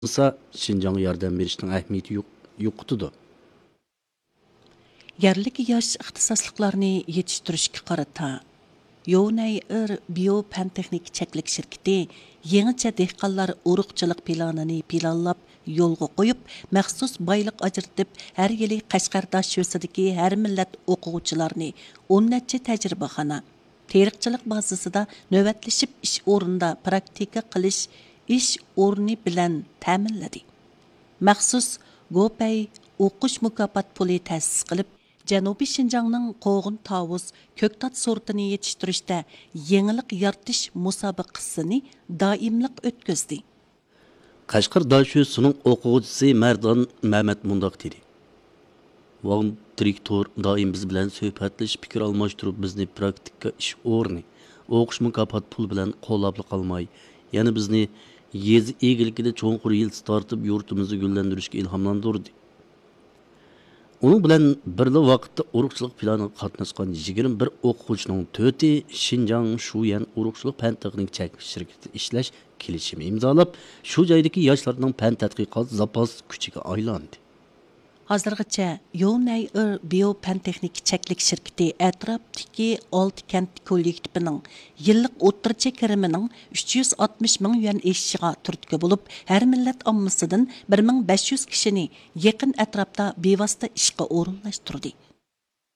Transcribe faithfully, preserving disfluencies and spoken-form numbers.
قىلمىسا، شىنجاڭغا ياردەم بېرىشنىڭ ئەھمىيىتى يوق-، يوقىتىدۇ. يەرلىك ياش ئىختىساسلىقلارنى يېتىشتۈرۈشكە قارىتا، يونەي ئېر بىيو پەن تېخنىكا چەكلىك شىركىتى يېڭىچە دېھقانلار ئۇرۇقچىلىق پىلانىنى پىلانلاپ يولغا قويۇپ، مەخسۇس بايلىق ئاجرىتىپ، ھەر يىلى قەشقەر داشۆسىدىكى ھەر مىللەت ئوقۇغۇچىلارنى ئون نەچچە تەجرىبىخانا، تېرىقچىلىق بازىسىدا نۆۋەتلىشىپ ئىش ئورنىدا پراكتىكا قىلىش ئىش ئورنى بىلەن تەمىنلىدى. مەخسۇس گوپەي ئوقۇش مۇكاپات پۇلى تەسىس قىلىپ، جەنۇبىي شىنجاڭنىڭ قوغۇن تاۋۇز، كۆكتات سورتىنى يېتىشتۈرۈشتە يېڭىلىق يارىتىش مۇسابىقىسىنى دائىملىق ئۆتكۈزدى. قەشقەر داشۆسىنىڭ ئوقۇغۇچىسى مەردان مەمەت مۇنداق دېدى: ۋاڭ دىرېكتور دائىم بىز بىلەن سۆھبەتلىشىپ، پىكىر ئالماشتۇرۇپ، بىزنى پراكتىكا ئىش ئورنى، ئوقۇش مۇكاپات پۇلى بىلەن قوللاپلا قالماي، يەنە بىزنى يېزا ئىگىلىكىدە چوڭقۇر يىلتىز تارتىپ، يۇرتىمىزنى گۈللەندۈرۈشكە ئىلھاملاندۇردى. ئۇنىڭ بىلەن بىرلا ۋاقىتتا ئۇرۇقچىلىق پىلانىغا قاتناشقان يىگىرمە بىر ئوقۇغۇچىنىڭ تۆتى شىنجاڭ شۇيەن ئۇرۇقچىلىق پەن تېخنىكا چەكلىك شىركىتىدە ئىشلەش كېلىشىمى ئىمزالاپ، شۇ جايدىكى ياشلارنىڭ پەن تەتقىقات زاپاس كۈچىگە ئايلاندى. ھازىرغىچە يونەي ئېر بىيو پەن تېخنىكا چەكلىك شىركىتى ئەتراپتىكى ئالتە كەنت كوللېكتىپىنىڭ يىللىق ئوتتۇرىچە كىرىمىنىڭ ئۈچ يۈز ئاتمىش مىڭ يۈەن ئېشىشىغا تۈرتكە بولۇپ، ھەر مىللەت ئاممىسىدىن بىر مىڭ بەش يۈز كىشىنى يېقىن ئەتراپتا بىۋاسىتە ئىشقا ئورۇنلاشتۇردى.